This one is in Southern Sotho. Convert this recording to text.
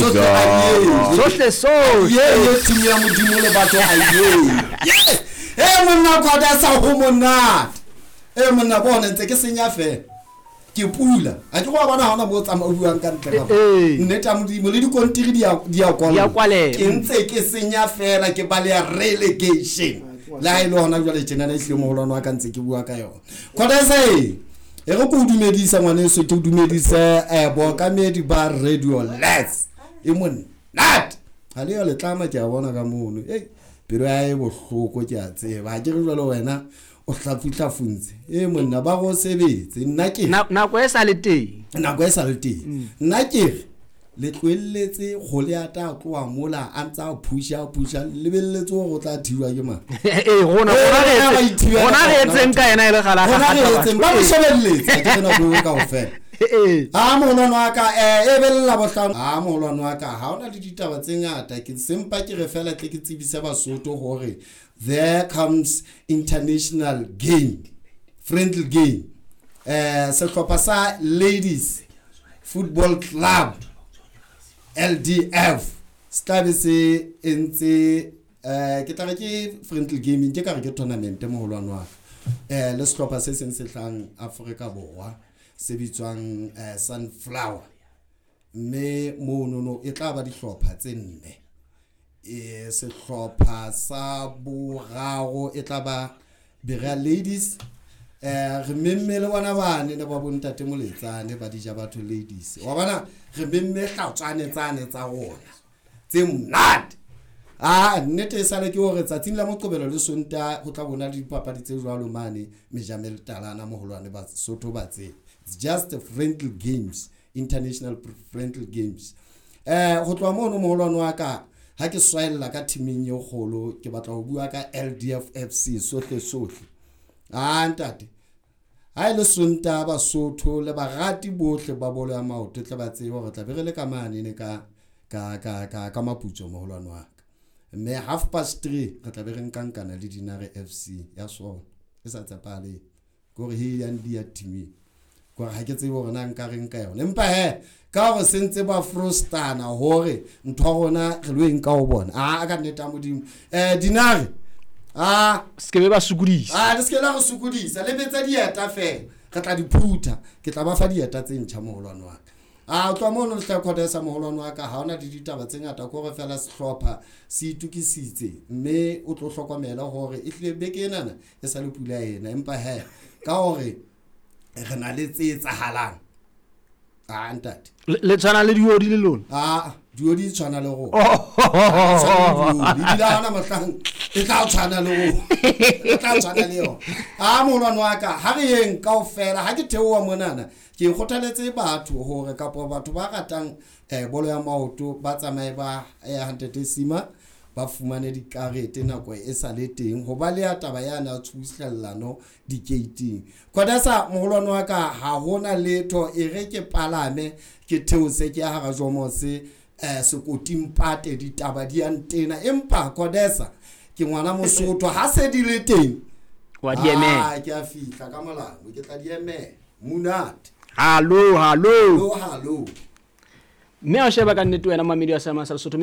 Sohle ayeye. Sohle sohle. Ye ye team ya Modimo le batho ayeye. E monna Khodesa ho monate. E monna bona ntse ke senya fela. Ke pula. A ke go bona ha ona mo tsamaya o buang ka ntle ka. Nnete ya Modimo le dikontiri di a di a kwala. Ke ntse ke senya fela ke baleya relegation. Le ha e le hona jwale tjena na ehlile moholwane wa ka ntse ke bua ka yona. Khodesa e re ke o dumedisa ngwaneso, ke o dumedise bookamedi ba Radio Lets. E monate. Ha le yo le tlama ke a bona ka mono. Ei pelo ya e bohloko ke a tseba. Ha ke re jwale wena o hlafuhlafuntse. E monna ba go sebetse. Nna ke nako e sa le teng. Nako e sa le teng. Nna ke re le tlohelletse kgole ya tla tloha mola a ntsa phusha phusha lebelletse hore o tla thiwa ke mang. Eh rona rona re etseng ka yena e le gala ga re etseng ba mo shebelletse ke rena go kaofela. A moholwane wa ka e bella bohlano. A moholwane wa ka ha ona le ditaba tse ngata ke sempa ke re fela tle ke tsebise Basotho hore there comes international game, friendly game. Sehlopha sa Ladies Football Club LDF se tla be se entse ke tla re ke friendly gaming ke ka re ke tournament moholwane wa ka. Le sehlopha se seng se hlang Afrika Borwa se bitswang Sunflower. Mme monono e tla ba dihlopha tse nne. Sehlopha sa boraro e tla ba Berea Ladies. Re memme le bona bane le ba bontate Moletsane ba dija batho ladies. Wa bona re memme hlatswane tsane tsa rona tse monate. Ah nnete e sale ke hore tsatsing la Moqebelo le Sonta ho tla bona le dipapadi tse jwalo mane Mejamel Talana moholwane ba Sotho ba tse. It's just a friendly games, international friendly games. Ho tloha mono moholwane wa ka ha ke swaella ka teaming e kgolo ke batla ho bua ka LDF FC sohle sohle. Ah ntate ha ile Sonta ba Sotho le barati bohle ba bolo ya maoto tle ba tsebe hore tla be re le ka mane ne ka ka ka ka ka Maputso moholwane wa ka. Mme 3:30 re tla be re nkankana le Dinare FC ya sona e sa tsepale gore he ya ndi ya team gore ha ke tsebe hore na nka reng ka yona empa he ka hore sentse ba frustana hore ntho rona re lo eng ka ho bona a ka nnete ya Modimo Dinare a se ke be ba sokodisa a le se ke la re sokodisa le betsa dieta fela re tla di phutha ke tla ba fa dieta tse ntjha moholwane wa ka. A tloha mono le tla Khodesa moholwane wa ka ha ona le ditaba tse ngata ko re fela sehlopha se itukisitse mme o tlo hlokomela hore e hlile beke enana e sa le pula ena empa he ka hore re na le tse etsahalang. A ntate le tshwana le diodi le lona. A diodi tshwana le rona. Ebile ha ona mohlang e tla tshwana le rona. E tla tshwana le yona. A moholwane wa ka ha re yeng kaofela ha ke theoha monana ke kgothaletse batho hore kapa batho ba ratang bolo ya maoto ba tsamaye ba ya Ntate Sima ba fumane dikarete nako e sa le teng ho ba le ya taba ya na tshuhlellano dikeiting. Khodesa moholwane wa ka ha hona letho e re ke palame ke theose ke hara Jomose sekoting pate ditaba di a ntena empa Khodesa ke ngwana Mosotho ha se di le teng wa di emela. Ke a fihla ka molao ke tla di emela monate. Hallo hallo hallo mme a sheba ka nnete wena mamedi wa Seema sa Lesotho.